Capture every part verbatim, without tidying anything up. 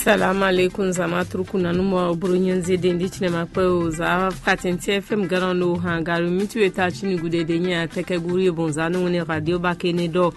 Salamu alaikum, zama truku nanu mɔ bro nyanze den di chinema kpɛ o za katenti F M garan no han garu mitu eta chini gude de nya teke guri bon zanu ne radio bakene do.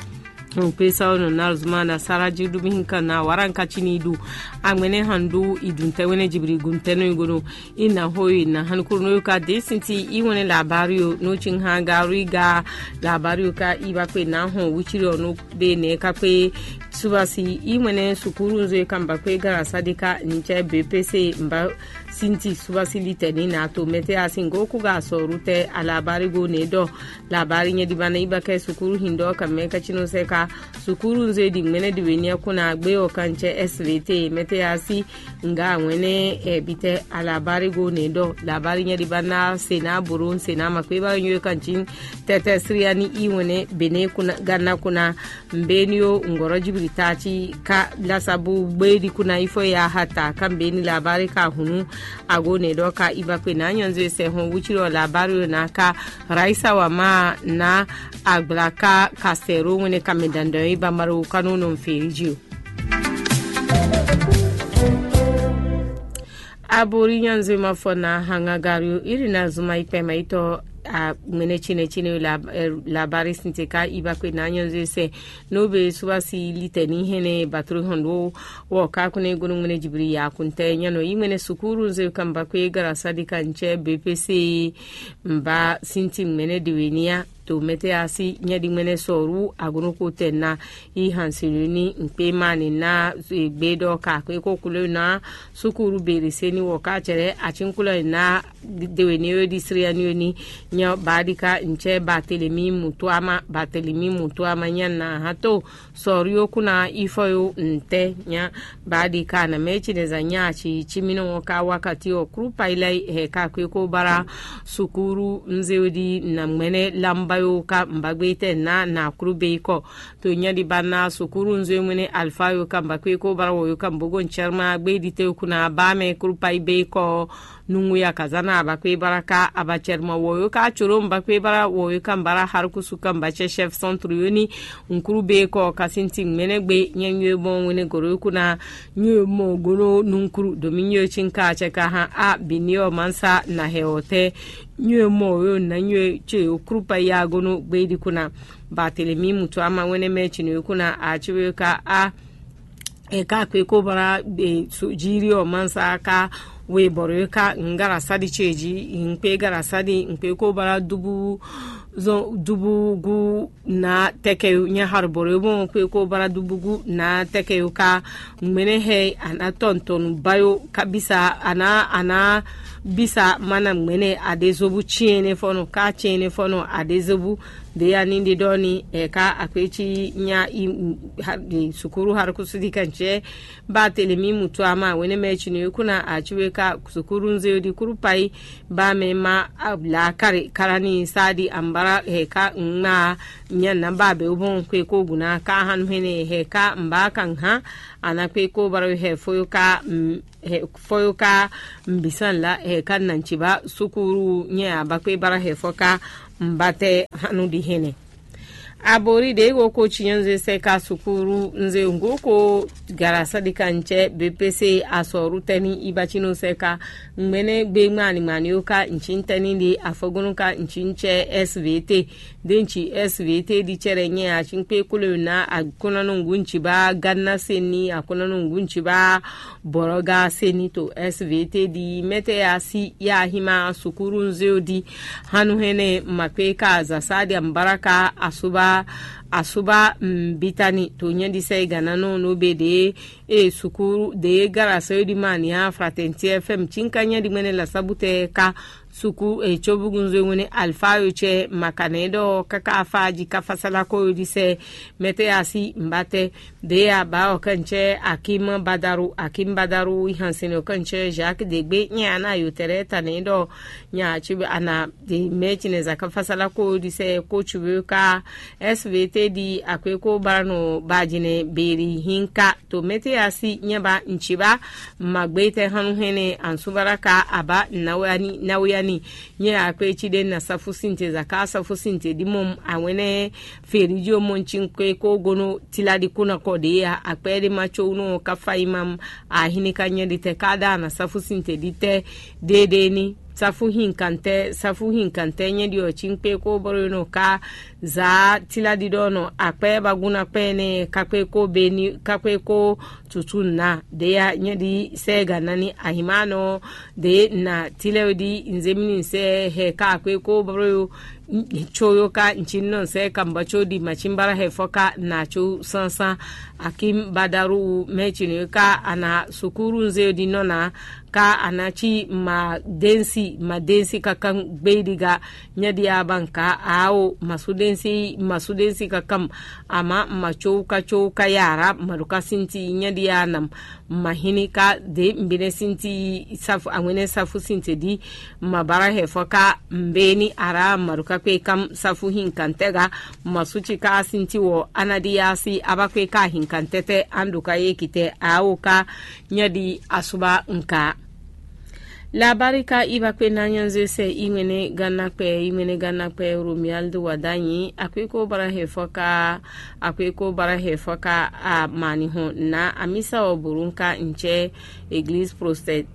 Pesa ono na zuma na sara ji du mi hinka na waran ka chini du. Angmene handu idun tewene jibiri gun teno igono. Ina hoyi na han kuru no ka de sinti iwene labario no chin han garu iga labario ka iba kpe na hon wuchiri ono be ne ka kpe. Subasi imwene sukuru nzo e kamba kwe gara sadika nichɛ B P C mba sinti subasi litɛ ni na to mɛtɛ asi ngo kuga sɔru tɛ alabari go ne dɔ labari nyɛ dibana ibakɛ sukuru hindɔ kamɛ kachino sɛ ka sukuru nzo e di mɛnɛ di wenia kuna gbe o kanchɛ S V T mɛtɛ asi nga wɛnɛ e bitɛ alabari go ne dɔ labari nyɛ dibana sena boro sena makwe ba nyo kanchi tɛtɛ siriani iwɛnɛ bene kuna gana kuna. Mbeni o ngɔrɔ jibiri tachi ka lasabu gbedi kuna ifo ya hata ka mbeni labari ka hunu. Ago ne dɔ ka ibakpe na nyɔnzo sɛ hɔn wuchiro labari na ka raisa wa ma na agbla ka kasɛro wene ka me dandɔn yi bambaro kanu no mferi ji o. Abori nyanzema fɔ na hanga gario iri na zuma ikpɛma itɔ a ŋmɛnɛ chinɛ chinɛ la labari sinte ka ibakpe na nyanzo sɛ. No be subasi litɛ ni hɛnɛ batro hɔn do wɔ ka kune gono ŋmɛnɛ jibiri ya kuntɛ nyano yi ŋmɛnɛ sukuru nze kamba kwe gara sadika nchɛ B P C. Mba sinti ŋmɛnɛ de we nia to mɛtɛ asi nyɛ di ŋmɛnɛ sɔru agono ko tɛ na. Yi hansiluni nkpe mani na gbe dɔ ka kwe ko kulo na sukuru beri seni wɔ ka cɛrɛ achinkula na dewe ni yo di siriani yo ni. Nya baadi ka nchɛ batelemi mutuama batelemi mutuama nya na ha to sɔri yo kuna ifɔ yo ntɛ nya baadi ka na mɛ ci ne za nya achi chimino ka wakati o krupa ilai he ka kwe ko bara sukuru nze yo di na mɛnɛ lamba yo ka mbagbe tɛ na na kuru be kɔ. To nyɛ di ba na sukuru nzo e ŋwene alfa yo kan ba kwe ko bara wo yo kan bogo nchɛrma gbe di te kuna ba mɛ kuru pa ibe kɔ. Nungu ya kaza na ba kwe bara ka aba chɛrma wo yo ka choro ba kwe bara wo yo kan bara harkusu kan ba chɛ chef centre yo ni. Nkuru be kɔ kasinti ŋmɛnɛ gbe nyɛ nyo mɔ ŋwene goro yo kuna nyo mɔ gono nunkuru domi nyo chin ka chɛ ka ha a bini o mansa na he o te. Nyo mɔ yo na nyo che yo kuru pa ya gono gbe di kuna. Bartelemi mutu ama wɛnɛ mɛ chinuyukuna achiwe ka a e ka kpe ko bara e su jiri o mansa ka we bɔrɔ e ka ngara sadi cheji nkpe gara sadi nkpe ko bara dubu zɔn dubu gu na tɛkɛ nya har bɔrɔ e bɔn kpe ko bara dubu gu na tɛkɛ yo ka ŋmɛnɛ hɛ ana tɔntɔnu bayo kabisa ana ana bisa mana ŋmɛnɛ adezobu chiene fɔnɔ ka chiene fɔnɔ adezobu. Deya ni ɖiɖɔ ni ɛka akpeti nya i sukuru harkusu di kan cɛ. Bartelemi mutu ama wene mɛ chinu kuna achiwe ka sukuru nze di kuru pai. Ba mɛ ma la kare karani sadi ambara heka ŋma nya namba be bon kwe ko guna ka hanu hene heka mba kan ha. Ana kwe ko bara he foyo ka foyo ka mbisan la heka nanchiba sukuru nya abakwe bara he foka. Mbatɛ hanu di hene. Abori ɖe go ko chinyɔnze sɛ ka sukuru nze ngo ko gara sadika nchɛ B P C asɔru tɛni ibachino sɛ ka. Ŋmɛnɛ gbe ŋmani ŋmani o ka nchi tɛni de afɔgɔnu ka nchi nchɛ S V T. De nchi S V T di cɛrɛ nyɛ achinkpe kolo na akunanu ngu nchi ba ganna seni akunanu ngu nchi ba bɔrɔga seni to S V T di mɛtɛ asi ya hima sukuru nze o di. Hanu hɛnɛ makpe ka zasadi ambaraka asuba asuba mbitani to nyɛ di sɛ gana no no be de e sukuru de gara sɛ di mania fratɛnti F M chinka nyɛ di mɛnɛ la sabutɛ ka suku e cobugunzo ŋwene alfa yo cɛ makanɛ dɔ kaka afa ji kafa salako yo di sɛ. Mɛtɛ asi mbatɛ de ya ba o kɛnchɛ akim badaru akim badaru ihansin o kɛnchɛ Jacques degbe nyɛ ana yo tɛrɛ tanɛ dɔ nya chi ana de mɛ chinɛ zaka fasala ko di sɛ ko chuwe ka S V T di akwe ko bara no bajinɛ beri hinka to mɛtɛ asi nyɛ ba nchiba. Magbe tɛ hanu hɛnɛ ansubara ka aba nawe ani nawe Ni nyɛ akpé cí ɖé na sáfúsinte zaka sáfúsinte ɖi mɔ awɛnɛ fèrí jí mɔ cí kpé kó gónú tíla ɖi kúnɔ kɔ ɖě ya akpɛ ɖé ma có nú ká fá yi ma ahíní ká nyɛ ɖi tɛ ká ɖá na sáfúsinte ɖi tɛ ɖéɖé ní sáfúhínkantɛ sáfúhínkantɛ nyɛ ɖi ɔ́ cí kpé kó bɔ́ nɔ ká zǎ tíla ɖiɖɔ nɔ akpɛ bagún akpɛ nɛ kákpé kó bení kákpé kó tutú nǎ ɖě ya nyɛ ɖi sɛ́ gǎ nani ahǐnmánɔ ɖě na tílɛ́ ɖi nzémíní sɛ́ hɛ ká akpé kó bɔ́ có yó ká nci nɔ sɛ́ kambɔ́ có ɖi màcínbára hɛ fɔ́ ká nà có sánsán akínbadaru mɛ cinɔ ká ana sukúru nzé ɖi nɔ ná ká ana cí ma densi ma densi káká gbé ɖi ga nyɛ ɖi abanka awo masúdensi masúdensi káká ama ma có ká có ká yàrá ma ɖo ká sinti nyɛ ɖi anam ma hini ká de mbinɛ sinti safu awɛnɛ safu sinti ɖi ma bara hɛ fɔ ká mbeni ara ma ɖo ká kpé kam safu hin kantɛ ga ma suci ká sinti wɔ anadi asi aba kpé ká hin kantɛ tɛ an ɖo ká ye kitɛ awo ká nyɛ ɖi asuba nka. Labarika iba kpe na nyanzɔe sɛ imɛnɛ ganakpɛ imɛnɛ ganakpɛ Romuald Wadagni akwiko bara hɛ fɔ ka akwiko bara hɛ fɔ ka amani hɔn na amisa ɔ burun ka ncɛ Église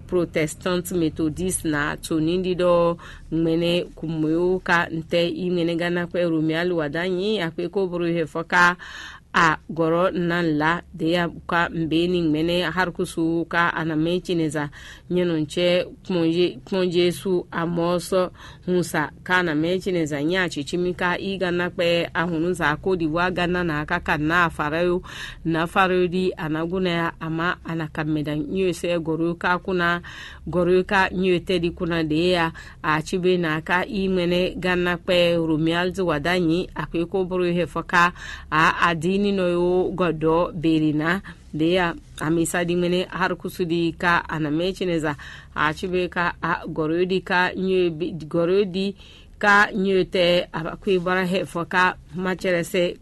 Protestante Méthodiste na to nindi ɖɔ ŋmɛnɛ kumweo ka ntɛ imɛnɛ ganakpɛ Romuald Wadagni akwiko boro hɛ fɔ ka a gɔrɔ nan la de ya ka mbe ni ŋmɛnɛ harkusu ka anamɛ cineza nyɛnu cɛ kpɔnje su amɔ sɔ hun sa ka anamɛ cineza nya cici mi ka i ga na kpɛ ahunu za ko di wa ga na na ka ka na afara yo na fara yo di anagunɛ ya ama ana ka mɛ da nyo sɛ gɔrɔ ka kuna gɔrɔ ka nyo tɛ di kuna de ya. Aci be na ka i ŋmɛnɛ ganna kpɛ Romuald Wadagni akweko boro hɛ fɔ ka a adini nɔ yo gɔdɔ beri na de ya amisa di ŋmɛnɛ harkusu di ka anamɛ cineza aci be ka a gɔrɔ di ka nyo gɔrɔ di ka nyo tɛ abakwe bara hɛ fɔ ka macɛrɛsɛ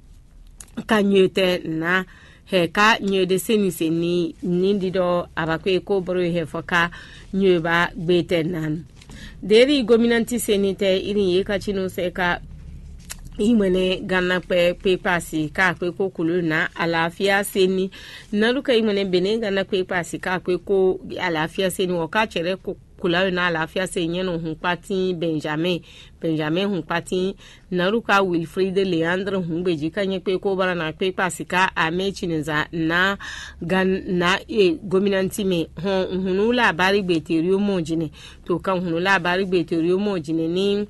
ka nyo tɛ na hɛ ka nyo de seni seni ni di dɔ abakwe ko boro hɛ fɔ ka nyo ba gbe tɛ nan. Deri gominanti seni tɛ irin ye ka cinu sɛ ka imwene ganna kpɛ kpe pasi ka kpe ko kulu na alafia seni nalu ka imwene bene ganna kpe pasi ka kpe ko alafia seni wɔ ka cɛrɛ ko kula yo na alafia se nyɛ no hun kpatin Benjamin Benjamin hun kpatin nalu ka Wilfrid Leandre hun gbeji ka nyɛ kpe ko bara na kpe kpasi ka ame cineza na gan na e gominanti me hɔn hunu la bari gbe terio mo jine to kan hunu la bari gbe terio mo jine ni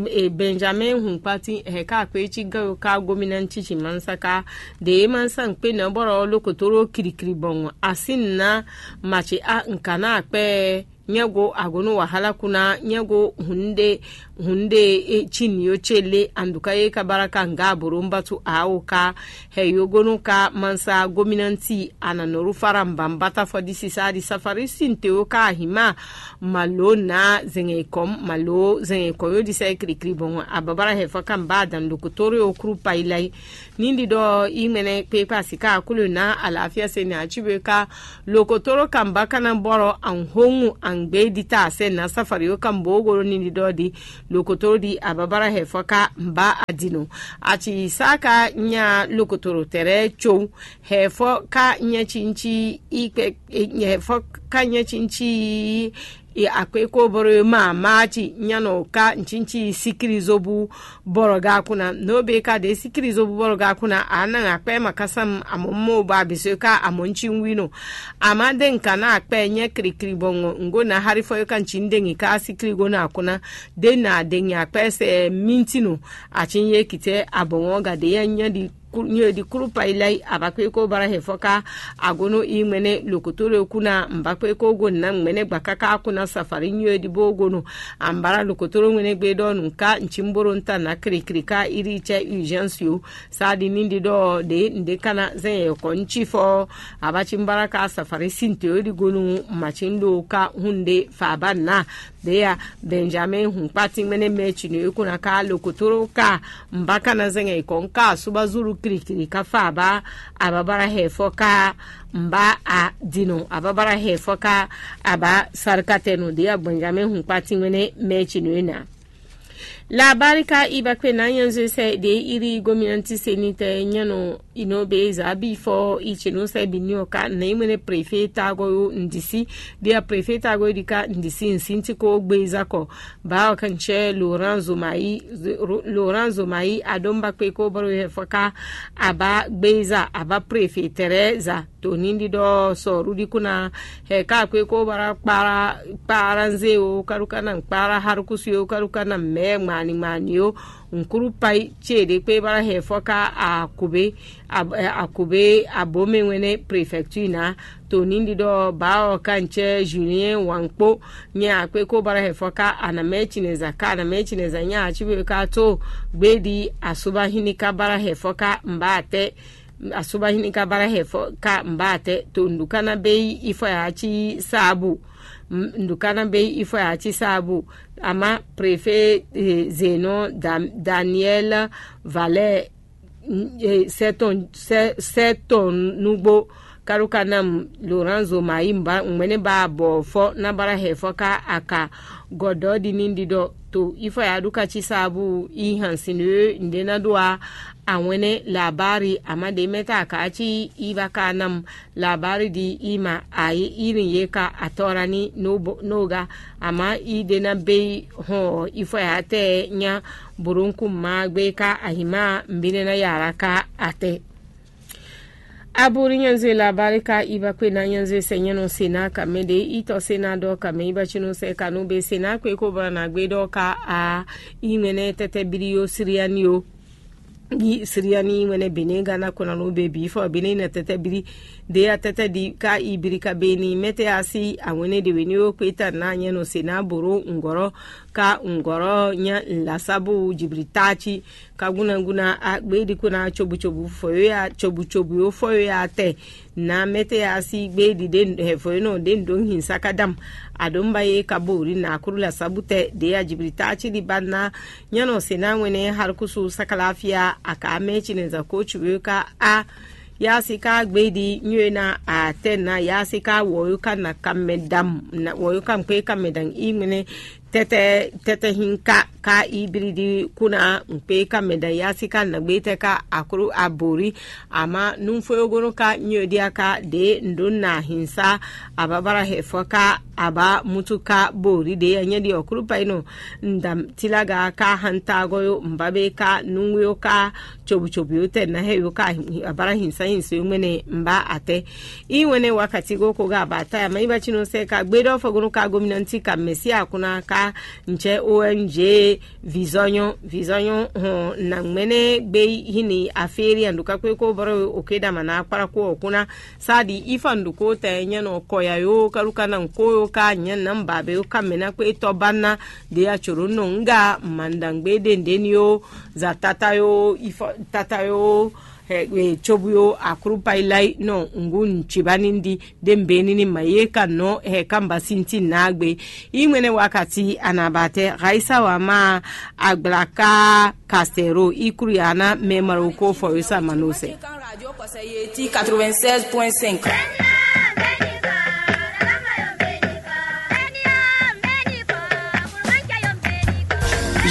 e Benjamin hun kpatin hɛ ka kpe ci gayo ka gominanti ci mansa ka de mansa kpe na bɔrɔ lokotoro kirikiri bɔn asin na maci a nkana akpɛ nyɛgo agonu wahala kuna nyɛgo hunde hunde cin yo ce le anduka ye ka bara ka nga aboro mbatu awo ka hɛ yogonu ka mansa gominanti ananoru fara mbambata fɔ di sisa di safari sinte yo ka hima malo na zɛngɛ kɔm malo zɛngɛ kɔm yo di sɛ kirikiri bɔn ababara hɛ fɔ kan ba dan dokotoro yo kuru pailai ni di dɔ imɛnɛ pe pa sika akulu na alafia se ne aci be ka lokotoro kan ba kana bɔrɔ an hoŋu an gbe di ta se na safari yo kan bo goro ni di dɔ di lokotoro di ababara hɛ fɔ ka ba adino aci saka nya lokotoro tɛrɛ tso hɛ fɔ ka nyɛ cinci ikpe hɛ fɔ ka nyɛ cinci akpeko boro ma maci nyanɔ ka ncinci sikiri zobu bɔrɔ ga kuna no be ka de sikiri zobu bɔrɔ ga kuna ana akpɛ ma kasam amɔ mo ba biso ka amɔ nci wino ama de nka na akpɛ nyɛ kirikiri bɔ ngo na hari fɔ yo ka nci dengi ka sikiri go na kuna de na dengi akpɛ sɛ mintinu aci ye kitɛ abɔ ŋɔ ga de ya nyɛ di nyo di kuru pailai abakpe ko bara hɛ fɔ ka agono i ŋmɛnɛ lokoto le kuna mbakpe ko go na ŋmɛnɛ gba kaka kuna safari nyo di bo gono ambara lokoto le ŋmɛnɛ gbe dɔ nu ka nci mboro nta na kirikiri ka iri cɛ urgence yo sa di ni di dɔ de nde kana zɛn yɛ kɔ nci fɔ abaci mbara ka safari sinte yo di gonu macin do ka hunde fa ba na de ya Benjamin hun kpati ŋmɛnɛ mɛ ci no e kuna ka lokoto ka mbaka na zɛn yɛ kɔ nka suba zulu Kirikiri ka fa aba ababara hɛfɔ ka mba a dino ababara hɛfɔ ka aba sarkatɛnu de a Benjamin hun kpati ŋmɛnɛ mɛci no ena. Labarika iba kpe na nyanzwe sɛ de iri gominanti senitɛ nyanu ino be zabi fɔ ichinu sɛ bini oka na imene prefe tago yo ndisi de a prefe tago dika ndisi nsinti ko gbe zakɔ. Ba okanchɛ Laurent Zomayi, Laurent Zomayi adomba kpe ko baro hɛfɔ ka aba gbeza aba prefe tɛrɛ za to nindi dɔ sɔru di kuna hɛ ka kwe ko bara kpara kpara nze o karuka na kpara harukusu o karuka na mɛ ŋmani ŋmani o nkuru pai ce de kpe bara hɛfɔ ka akube akube abome wɛnɛ prefecture na to nindi dɔ ba ɔ ka nchɛ Julien wankpo nya akpe ko bara hɛfɔ ka anamɛ chineza ka anamɛ chineza nya achiwe ka to gbedi asuba hini ka bara hɛfɔ ka mba atɛ asuba hini ka bara hɛfɔ ka mba atɛ to nduka na be yi ifɔ ya chi sabu nduka na be yi ifɔ ya chi sabu ama prefe zeno daniel valɛ sɛ tɔn nugbo karuka nam Laurent Zomayi ŋmɛnɛ ba bɔ fɔ na bara hɛfɔ ka aka gɔdɔ di ni ɖiɖɔ to ifɔ ya ɖuka chi sabu i hansin ɖe na ɖo a awɛnɛ labari ama ɖe mɛ ta ka chi i ba ka nam labari di i ma ayi irin ye ka atɔra ni no ga ama i ɖe na be hɔn ifɔ ya tɛ nya burúkú ma gbe ka ahima mbine na yàrá ka atɛ. Aburi nyanzwe labarika iba kpe na nyanzwe sɛ nyɛnu sena kame de itɔ sena dɔ kame iba chinu sɛ kanu be sena kpe ko bana na gbe dɔ ka a imene tɛtɛ biri yo siriani yo. Yi siriani wɛnɛ bene gana kona no be bi fɔ bene na tɛtɛ biri de ya tɛtɛ di ka ibiri ka beni mɛtɛ asi awɛnɛ de weni yo kpe ta na nyɛnu sena boro ngɔrɔ ka ngɔrɔ nya lasabu jibiri tachi ka guna guna a gbe di kuna chobu chobu foyo ya chobu chobu yo foyo ya tɛ na mɛtɛ ya si gbe di de hɛfoyo nɔ de ndo hin sakadam adomba ye ka bo ri na kuru la sabu tɛ de ya jibiri tachi di ba na nyanu sena wɛnɛ harkusu sakalafia aka mɛ chineza ko chuwe ka a ya si ka gbe di nyoe na atɛ na ya si ka wɔyo ka na kamɛ dam na wɔyo ka mkpe kamɛ dam i ŋmɛnɛ tɛtɛ tɛtɛ hin ka ka ibiridi kuna ŋkpe ka mɛda yasi ka nagbe tɛ ka akuru abori ama nunfoyogono ka nyɔdia ka de ndo na hinsa ababara hɛfɔ ka aba mutu ka bori de anyɛdi ɔkuru pa ino ndam tilaga ka hantagɔ yo mbabe ka nunwe yo ka chobu chobu yo tɛ na hɛ yo ka abara hinsa hinsa yo ŋmɛnɛ mba atɛ. Iwɛnɛ wakati go ko ga abata ya ma iba chino sɛ ka gbe dɔ fɔgɔnu ka gominanti ka mɛsia kuna ka nchɛ O N G vizɔnyɔ vizɔnyɔ hɔn na ŋmɛnɛ gbe hini aferi anduka kwe ko bɔrɔ oke dama na akpara ko okuna sadi ifa nduko tɛ nyɛ nɔ kɔya yo kaluka na nko yo ka nyɛ na mba be yo ka mɛna kwe tɔ bana de ya choro nɔ nga mandangbe de ndeni yo za tata yo ifa tata yo Ɛ, e, cobu yo akuru pailai nɔ ngu nchiba nindi de mbeni ni ma ye ka nɔ hɛ ka mba sinti nagbe. I ŋmɛnɛ wakati anabate raisa wa ma agbla ka kastero i kuru ya na mɛ maroko fɔ yo sa manose. Quatre-vingt-seize point cinq.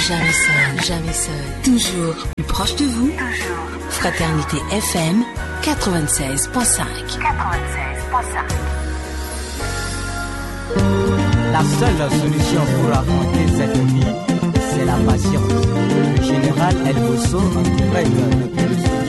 Jamais seul, jamais seul, toujours plus proche de vous. Fraternité F M quatre-vingt-seize point cinq. La seule solution pour affronter cette vie, c'est la patience. Le général El Bosso en direct depuis le studio.